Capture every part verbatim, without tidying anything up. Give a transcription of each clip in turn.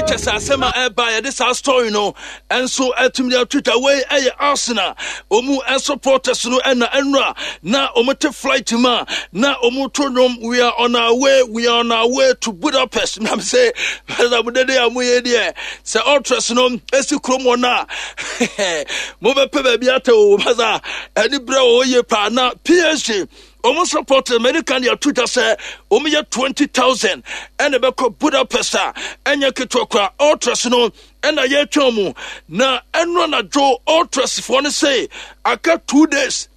Kyɛ sɛ asɛm a ɛba yɛde saa story no ɛnso ɛtumi de ato dwa. Wei ɛyɛ Arsenal ɔmu supporters no ɛna ɛnura na ɔmo te flight mu a na ɔmo to nnwom, "We are on our way, we are on our way to Budapest." Nam sɛ sɛ mo dede a moyɛ deɛ sɛ ultras no esi kurom hɔ no a, mobɛpɛ baabi atɛ o. Masa ɛne berɛ wɔ hɔ yie paa na P S G ɔmo supporters America de ato dwa sɛ ɔmo yɛ twenty thousand ɛna ɛbɛkɔ Budapest a ɛnyɛ ketewa kora. Ultras no ɛna yɛretwɛn mu na ɛno anadwo ultras foɔ no sɛ aka two days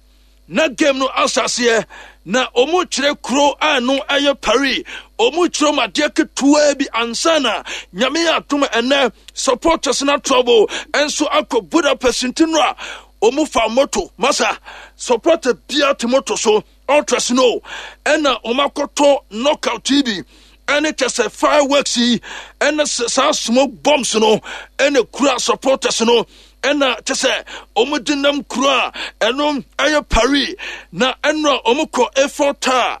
na game no asaseɛ na ɔmo kyerɛ kuro a no ɛyɛ Paris. Ɔmo kyerɛ mu adeɛ ketewa bi ansa na Nyame yɛ atom ɛnɛ supporters na trouble ɛnso akɔ Budapest. Nti no a ɔmo fa moto, masa supporter bia te moto so, ultras no ɛna ɔmo akɔtɔ knockout bi ɛne kyɛ sɛ fireworks yi ɛne saa smoke bombs no ɛna kura supporters no ɛna kyɛ sɛ ɔmo de nam kuro a ɛno ɛyɛ Paris. Na ɛno a ɔmo kɔ Eiffel Tower,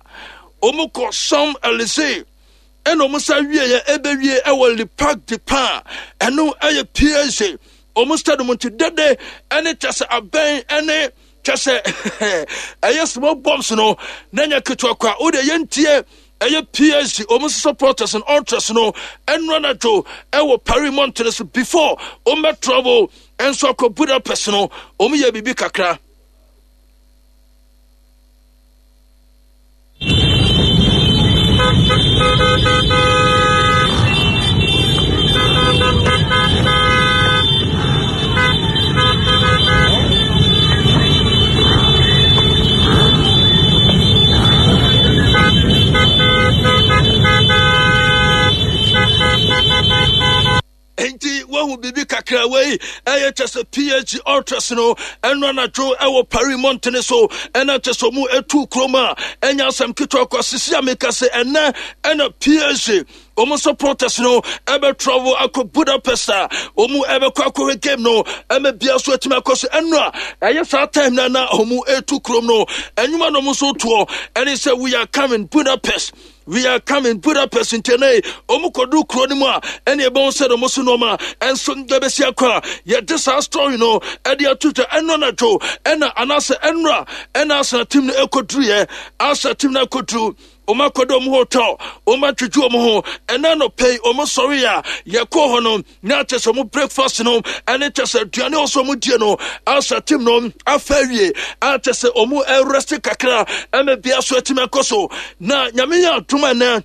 ɔmo kɔ Champs Elysees, ɛna ɔmo sa wie yɛ ɛbɛwie ɛwɔ Le Parc de Pin, ɛno ɛyɛ P S G ɔmo stadium. Nti dede ɛne kyɛ sɛ abɛn ɛne kyɛ sɛ ɛyɛ smoke bombs no na nyɛ ketewa kwa. Wode yɛntie ɛyɛ P S G ɔmo supporters and ultras no ɛno anadwo ɛwɔ Paris mmɔntene so before ɔmo bɛ travel ɛnso akɔ Budapest no, ɔmo yɛ biribi kakra. Nti wahu biribi kakra. Wei ɛyɛ kyɛ sɛ P S G ultras no ɛno anadwo ɛwɔ Paris mmɔntene so ɛna kyɛ sɛ ɔmu ɛtu kurom a ɛnyɛ asɛm ketewa kɔ. Sisi a meka sɛ ɛnɛ ɛna P S G wɔn supporters no ɛbɛ travel akɔ Budapest a wɔn ɛbɛkɔ akɔhwɛ game no ɛmɛ bia so atumi akɔ so. Ɛno a ɛyɛ saa time na na wɔn ɛtu kurom no, ɛnwuma na wɔn nso toɔ ɛne sɛ "We are coming Budapest, we are coming Budapest." Ntɛnɛ ɔmo kɔdu kuro no mu a ɛne ɛbɛn sɛ ɔmo so nneɛma ɛnso ɛbɛsi akɔ a yɛde saa story no ɛde ato dwa. Ɛno anadwo ɛna anaasɛ ɛnora ɛna Arsenal team no ɛkɔduru yɛ Arsenal team no akɔduru, ɔmo akɔdɔ ɔmo hotel, ɔmo atwitwi ɔmo ho. Ɛna nɔpɛ yi ɔmo sɔre a yɛkɔɔ hɔ no na kyɛ sɛ ɔmo breakfast no ɛne kyɛ sɛ aduane ɔsɔ ɔmo die no, Arsenal team no afa awie a kyɛ sɛ ɔmo ɛrest kakra ɛmɛ bia so atumi akɔ so. Na Nyame yɛ adom ɛnɛ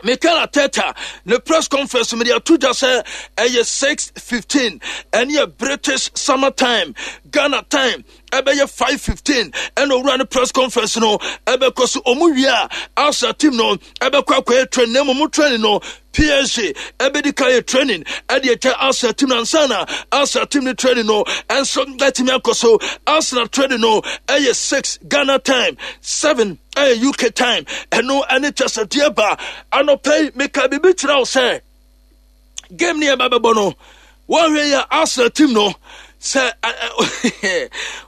Mikel Arteta ne press conference mede ato dwa sɛ ɛyɛ six fifteen, ɛne yɛ British Summer Time, Ghana time ɛbɛyɛ five fifteen, ɛna owura ne press conference no ɛbɛkɔ so. Ɔmo wie a, Arsenal team no ɛbɛkɔ akɔyɛ training, na mmom training no P S G ɛbɛdi ka yɛ training ɛde ɛkyɛ Arsenal team no ansa na Arsenal team no training no ɛnso ɛtumi akɔ so. Arsenal training no ɛyɛ six Ghana time, seven ɛyɛ U K time. Ɛno ɛne kyɛ sɛ deɛ ba anɔpɛ yi meka biribi kyerɛ wo sɛ game ne yɛba bɛbɔ no, wɔhwɛ yɛ Arsenal team no sɛ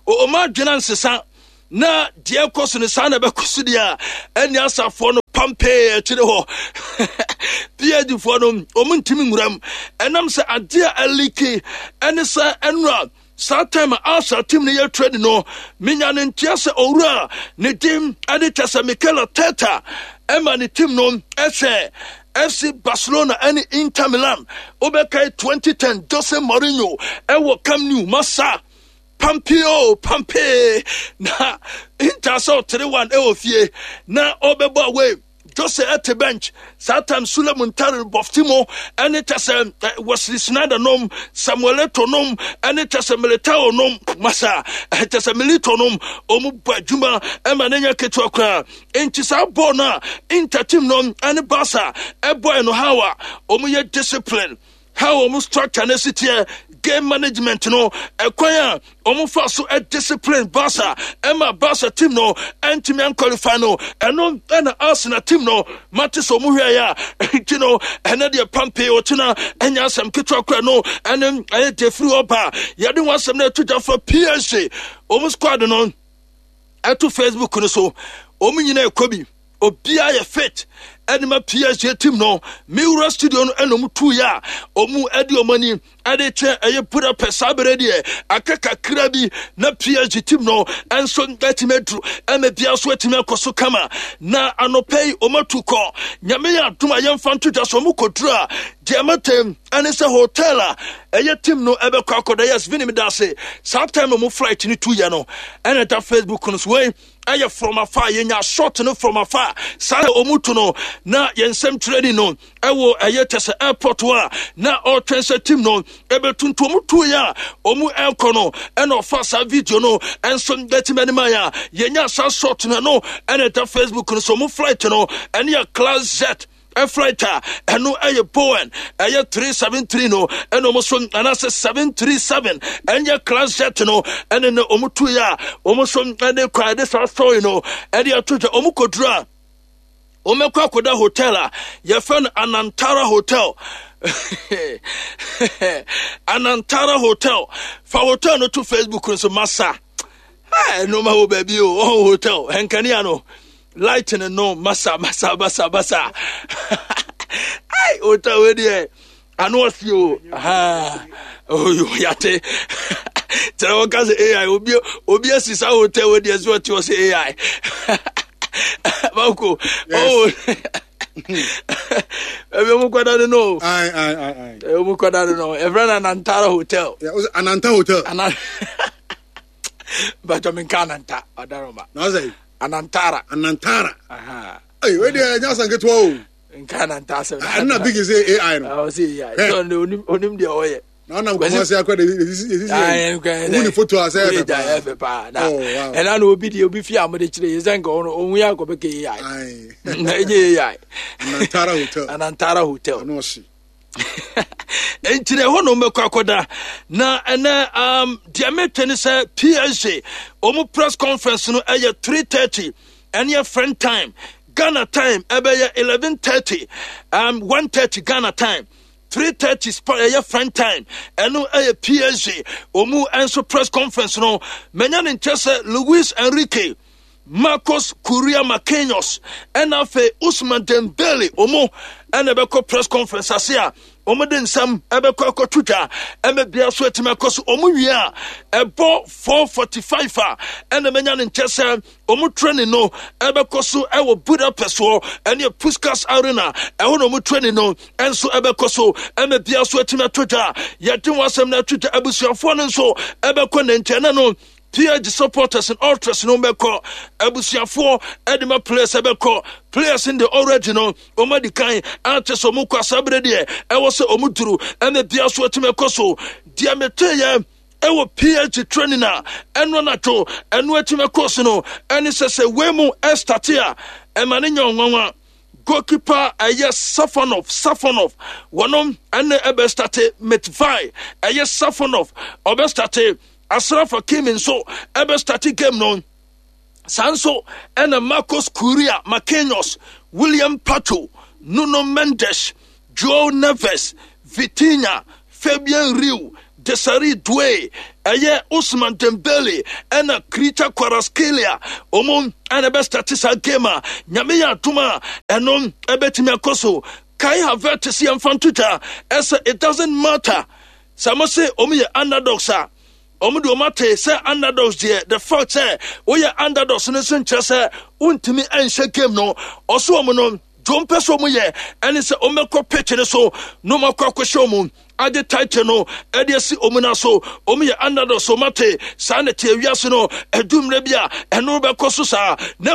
ɔma adwena nsesa na deɛ ɛkɔ so no saa na ɛbɛkɔ so deɛ a, ɛne asafoɔ no pampee akyire hɔ P S G foɔ no ɔmo ntumi nwuram. Ɛnam sɛ adeɛ a ɛleak ɛne sɛ ɛnora saa time a Arsenal team no yɛ training no, menya ne nteɛ sɛ owura ne din ɛde kyɛ sɛ Mikel Arteta ɛma ne team no ɛhwɛ F C Barcelona ɛne Inter Milan. Wobɛkae twenty ten Jose Mourinho ɛwɔ Camp Nou, masa pampio pampe na Inter sɛ three one ɛwɔ fie na ɔbɛbɔ away. Jose ɛte bench saa time, Sule Muntari bɔfti mu ɛne kyɛ sɛ Wesley Sneijder nom, Samuel Eto'o nom, ɛne kyɛ sɛ Militao nom, masa kyɛ sɛ Milito nom, ɔmu bɔ adwuma ɛma ne nyɛ ketewa koraa. Nti saa bɔɔl no a Inter team no ɛne Barca ɛbɔɛ no, how a ɔmu yɛ discipline, how ɔmo structure no si teɛ, game management no, ɛkwan a ɔmo fa so discipline Barca ɛma Barca team no ɛntumi anqualify no, ɛno ɛna Arsenal team no mate sɛ ɔmo hwɛ yɛ a. Nti no ɛnɛ deɛ pampe ɔkyena ɛnyɛ asɛm ketewa kora no. Ɛne ɛyɛ deɛ firi ɔba yɛde ho asɛm no ɛto gya fa P S G ɔmo squad no ɛto Facebook no so. Ɔmo nyinaa ɛkɔ bi. Obiara yɛ fit ɛde ma P S G team no. Miwura studio no ɛna ɔmo tu yɛ a ɔmo ɛde ɔmo ani ɛde kyɛ ɛyɛ Budapest. Saa bere deɛ, aka kakra bi na P S G team no ɛnso ɛtumi aduru ɛma bia so atumi akɔ so kama. Na anɔpɛ yi ɔmo atu kɔ. Nyame yɛ adom a, yɛmfa nto dwa so, ɔmo kɔduru a, deɛ matam ɛne sɛ hotel a ɛyɛ team no ɛbɛkɔ akɔda. Yes, vinim da ase saa time ɔmo flight no tu yɛ no, ɛna ɛda Facebook no so. Wei ɛyɛ from afar, yɛnya shot no from afar. Saa na ɔmu tu no na yɛn nsɛm twerɛni no ɛwɔ ɛyɛ kyɛ sɛ airport hɔ a na ɔretwɛn sɛ team no ɛbɛtu. Nti ɔmu tu yɛ a ɔmu ɛrekɔ no, ɛna ɔfa saa video no ɛnso bɛtumi anim ayɛ a yɛnya saa shot no. Ɛno ɛna ɛda Facebook no so. Ɔmu flight no ɛne yɛ class Z flight a ɛno ɛyɛ Boeing ɛyɛ three seven three no ɛna ɔmo so, anaasɛ seven three seven, ɛnyɛ class jet no ɛne ne ɔmo tu yɛ a ɔmo so ɛde kɔ ɛde saa story no ɛde ato dwa. Ɔmo kɔduru a, wɔmɛkɔ akɔda hotel a yɛfrɛ no Anantara Hotel. Anantara Hotel, fa hotel no to Facebook no so. Masa, nneɛma wɔ baabi o. Ɔwɔ hotel nkanea no, light no no masa masa masa masa. Ai, hotel wei deɛ ano ɔsi o. Oyo yate kyerɛ wɔka sɛ A I obi obi asi saa hotel wei deɛ so ɔte hɔ sɛ A I bako. Oh, ɛbi ɔmo kɔda no no. Aye, aye, aye, aye. Ɔmo kɔda no no, ɛfrɛ no Anantara Hotel. Yeah, was it Ananta Hotel? Ana bàtɔ mi nka Ananta ɔdaroma. Na sɛ Anantara. Anantara. Aha. Hey, wei deɛ ɛnyɛ asan ketewa o. Nka Ananta asɛm. Ɛno na big sɛ A I no. Ɔsɛ A I Hey. sɛ ɔno onim onim deɛ ɔyɛ. Na ɔnam Kumasi akɔ de esisi esisi. Ayi, nkɛ Ohu ne photo a sɛ ɛfɛ paa. Paa. Ɛfɛ paa na Oh, wow. ɛna na obi deɛ obi fi a mo de kyerɛ yɛ sɛ nka ɔno ohun yɛ akɔ bɛ kɛ A I. Aye. Na ɛnyɛ A I. Anantara Hotel. Anantara Hotel. Ɔno ɔhye. Nti na ɛhɔ na ɔmbɛkɔ akɔda. Na ɛnɛ um, deɛ mete ne sɛ P S G ɔmu press conference no ɛyɛ three thirty, ɛne yɛ French time. Ghana time ɛbɛyɛ eleven thirty, um, one thirty Ghana time, three thirty sport ɛyɛ French time. Ɛno ɛyɛ P S G ɔmu nso press conference no. Manya ne nkyɛ sɛ Luis Enrique, Marcos Correa Marquinhos, ɛna afei Usman Dembele, ɔmo ɛna ɛbɛkɔ press conference ase a ɔmo de nsɛm ɛbɛkɔ akɔto dwa ɛmɛ bia so atumi akɔ so. Ɔmo wie a, ɛbɔ four forty-five a, ɛna mɛnya ne nkyɛ sɛ ɔmo training no ɛbɛkɔ so ɛwɔ Budapest hɔ, ɛne Puskas Arena. Ɛhɔ na ɔmo training no ɛnso ɛbɛkɔ so ɛmɛ bia so atumi ato dwa. Yɛde wɔn asɛm no ato dwa. Abusuafoɔ no nso ɛbɛkɔ ne nkyɛn na no P S G supporters and ultras no bɛkɔ, abusuafoɔ ɛde ma players ɛbɛkɔ. Players in the already no, wɔn adi kan akyɛ sɛ wɔn kɔ asabere deɛ ɛwɔ sɛ wɔn duru ɛna bia so atumi ɛkɔ so. Deɛ mete yɛ ɛwɔ P S G training a ɛno anadwo ɛno atumi ɛkɔ so no ɛne sɛ sɛ wei mu ɛstart a, ɛma ne nyɛ ɔnwanwa. Goalkeeper ɛyɛ Safonov. Safonov wɔnom ɛne ɛbɛstart. Mitvai ɛyɛ Safonov ɔbɛstart. Achraf Hakimi nso ɛbɛstart game no. Saa nso ɛna Marcos Correa Marquinhos, William Pacho, Nuno Mendes, Joao Neves, Vitinha, Fabian Ruiz, Desire Doue, ɛyɛ Usman Dembele, ɛna Khvicha Kvaratskhelia, ɔmo ɛna ɛbɛstart saa game a Nyame yɛ adom a ɛno ɛbɛtumi akɔ so. Kai Havertz, yɛmfa nto dwa ɛsɛ it doesn't matter sɛ mo se ɔmo yɛ underdogs a, ɔmo de ɔmo ate sɛ underdogs deɛ, the fact sɛ woyɛ underdogs no nso nkyerɛ sɛ wontumi nhyɛ game no. Ɔso ɔmo no dwo mpɛ sɛ ɔmo yɛ ɛne sɛ ɔmo bɛkɔ pitch no so na ɔmo akɔ akɔhyɛ ɔmo agye title no ɛde asi ɔmo na so. Ɔmo yɛ underdogs, ɔmo ate saa na te awiase no ɛdu mmerɛ bi a ɛno bɛkɔ so saa na